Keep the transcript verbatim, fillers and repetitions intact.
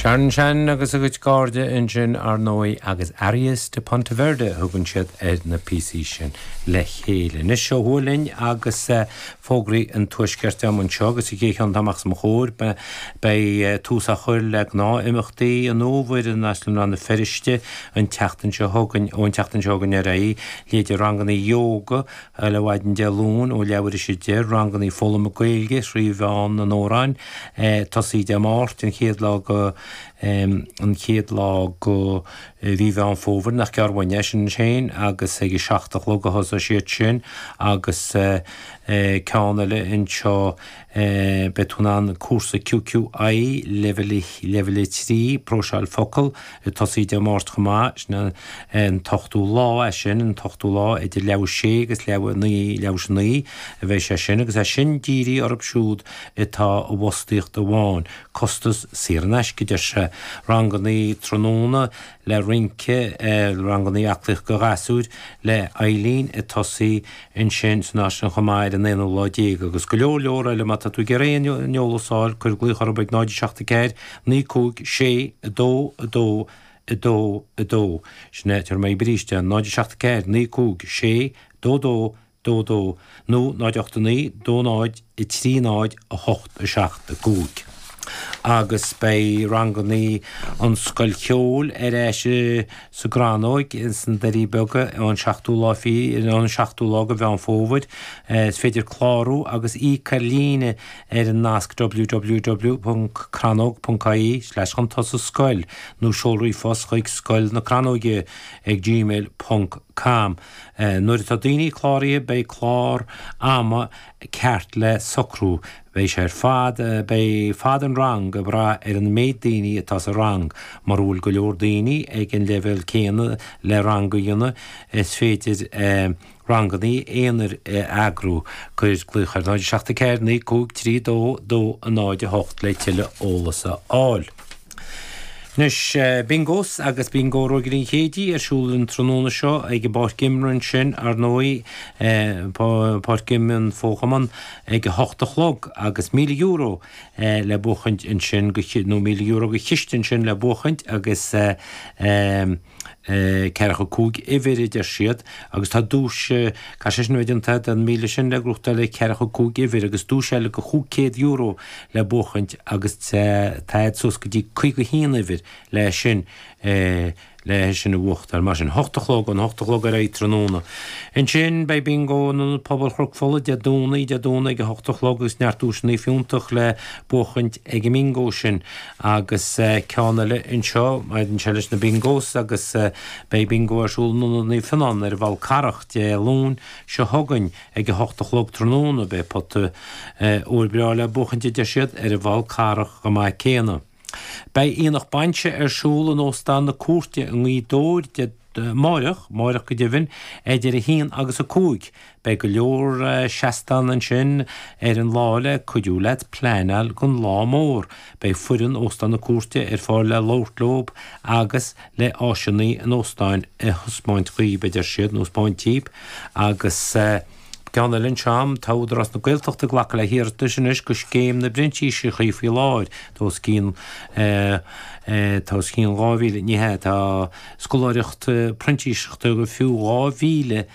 Sharon Shannon agus a gcuid cairde ansin ar ndóigh agus Arias de Ponteverde thugann siad ar na píosaí sin le chéile. Anois seo linn agus uh, fógraí an tuaiscirt anseo agus an chéad cheann amach os mo chomhair beidh uh, tús á chur le gnáthimeachtaí an fhómhair in Áislann Rann na Feirste an tseachtain seo chugainn ón tseachtain seo chugainn ar aghaidh leithéidí ranganna ióga le mhaidin Dé Luain ó leathuair tar éis a deich ranganna foghlama Gaeilge trí mheán na n-amhrán eh, tosaí Dé Máirt an chéad lá go um, an chéad lá go mhí Mheán Fómhair nach gearr uainn sin féin agus ag a seacht a chlog a thosóidh siad sin agus uh, uh, ceann eile anseo uh, beidh tú in ann cúrsa QQI level level trí próiseáil focal tosaí Dé Máirt chomh maith sin an t-ochtú lá é sin an t-ochtú lá idir leathuair tar éis sé agus leathuair naoi leathuair tar éis naoi a bheidh sé sin agus é sin dírithe orthu siúd atá i bhfostaíocht amháin costas saor in aisce deir sé ranganna tráthnóna le rince ranganna aclaíochta do ghasúir le Eileen ag tosaí ansin san áit chomh maith ar an aonú lá déag agus go leor leor eile má tá tú ag iarraidh aon eolas a fháil cuir glaoch orthu ag náid seacht ceathair naoi cúig sé a dó a dó a dó a dó sin é tar mé bríiste náid seacht ceathair naoi cúig sé dó dó dó dó nó náid ocht naoi dó náid i trí náid a hocht a seacht a cúig. Agus beidh ranganna an scoil cheoil ar ais sa gCrannóg sna Doirí Beaga an seachtú lá fi an seachtú lá de Mheán Fómhair is féidir clárú agus íoc ar líne ar an nasc www.crannóg.ie slash chun tosaigh scoil nó seol ríomhphost chuig scoil na Crannóige ag gmail.com. Nuair atá daoine cláraithe beidh clár ama ceart le socrú. Beidh sé ar fad beidh fad an rang ag brath ar an méid daoine atá sa rang, mar bhfuil go leor daoine ag an leibhéal céanna le rang a dhéanamh is féidir eh, ranganna aonair eagrú cuir glaoch ar náid seacht ceathair naoi cúig trí dó dó a náid a hocht le tuilleadh eolas a fháil. Anois bingos agus bingo Rógairí an Chéidí ar siúl an tráthnóna seo ag an bpáirc imeartha sin ar ndóigh páirc imeartha an fhochumann ag a hocht a chlog agus míle euro le buachaint ansin go nó míle euro go chiste ansin le buachaint agus ceathracha cúig uimhir a deir siad agus tá duais ca sé sin an den míle sin le gnóthachtáil le ceathracha cúig uimhir agus duais eile go chúig chéad euro le buachaint agus tá suas go dtí caoga haon uimhir le sin le sin a bhuachtáil mar sin hocht a chlog an hocht a chlog ar tráthnóna. Ansin beidh bingo an pobal Chnoc Fola Dé Domhnaigh Dé Domhnaigh ag a hocht a chlog agus neart duaiseanna fiúntach le buachaint ag an mbingo sin agus ceann eile anseo an se leis na bingos agus beidh bingo ar siúl in Ionad Naomh Fionnán ar an bhFál Carrach Dé Luain seo chugainn ag a hocht a chlog tráthnóna beidh pota óir breá le buachaint deir siad ar an bhFál Carrach go maith céanna. Beidh aonach bainse ar siúl in Óstán na Cúirte i nGaoth Dobhair de amárach, amárach go deimhin, idir a haon agus a cúig. Beidh go leor seastán ansin ar an lá le cuidiú leat pleanáil don lá mór. Beidh foireann Óstán na Cúirte ar fáil le labhairt leob agus le áiseanna an óstáin a thaispeáint daoib a deir siad nó 'spáint daoib agus Ceann eile anseo tá Údarás na Gaeltachta ag glacadh le hiarratais anois go scéim na bprintíseachtaí faoi láthair tá os cionn tá os cionn dhá mhíle ní hea tá scoláireacht printíseachta go fiú dhá mhíle